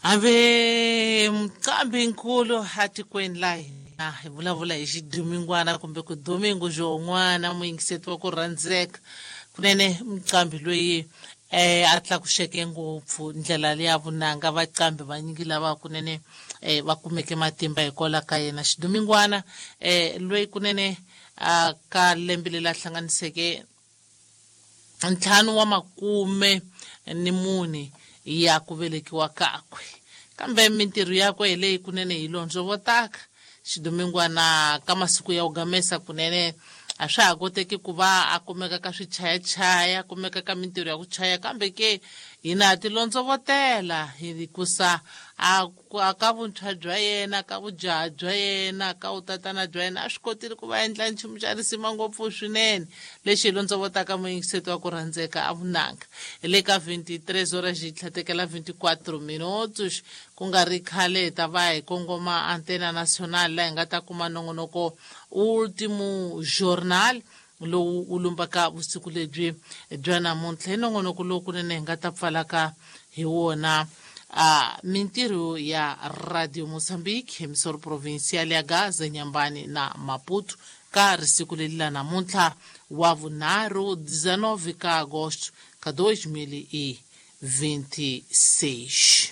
Hambi mqambi-nkulu atikweni la hina hi vulavula hi xidumingwana kumbe ku domingo xon'wana muyingiseti wa ku rhandzeka kunene mqambi loyi a tlakuxeke ngopfu ndlela leya vunanga vaqambi vanyingi lava kunene va kumeke matimba hikwalaho ka yena xidumingwana loyi kunene a ka lembe leri a hlanganiseke 54 ya ku velekiwa kakwe kambe mintirho yakwe hi leyi kunene hi londzovotaka xidumingwana ka masiku ya ku gamesa kunene a swa ha koteki ku va a kumeka ka swichayachaya a kumeka ka mintirho ya ku chaya kambe ke hina ha ti londzovotela hikusa a ka vuntshwa bya yena ka vujaha bya yena ka vutatana bya yena a swi kotile ku va endla nchumu xa risima ngopfu swinene lexi hi londzovotaka muyingiseti wa ku rhandzeka a vunanga hi le ka 23 horas xi tlhatekela 24 minutos ku nga ri khale hi ta va hi kongoma Antena Nacional laha hi nga ta kuma nongonoko Ultimo Jornal lowu wu lumbaka vusiku lebyi bya namuntlha hi nongonoko lowu kunene hi nga ta pfalaka hi wona a mintirho ya Radio Mozambique emisoro provincial ya Gaza Nyambani na Maputo ka risiku leri la namuntlha wa vunharhu 19 ka agosto ka 2026.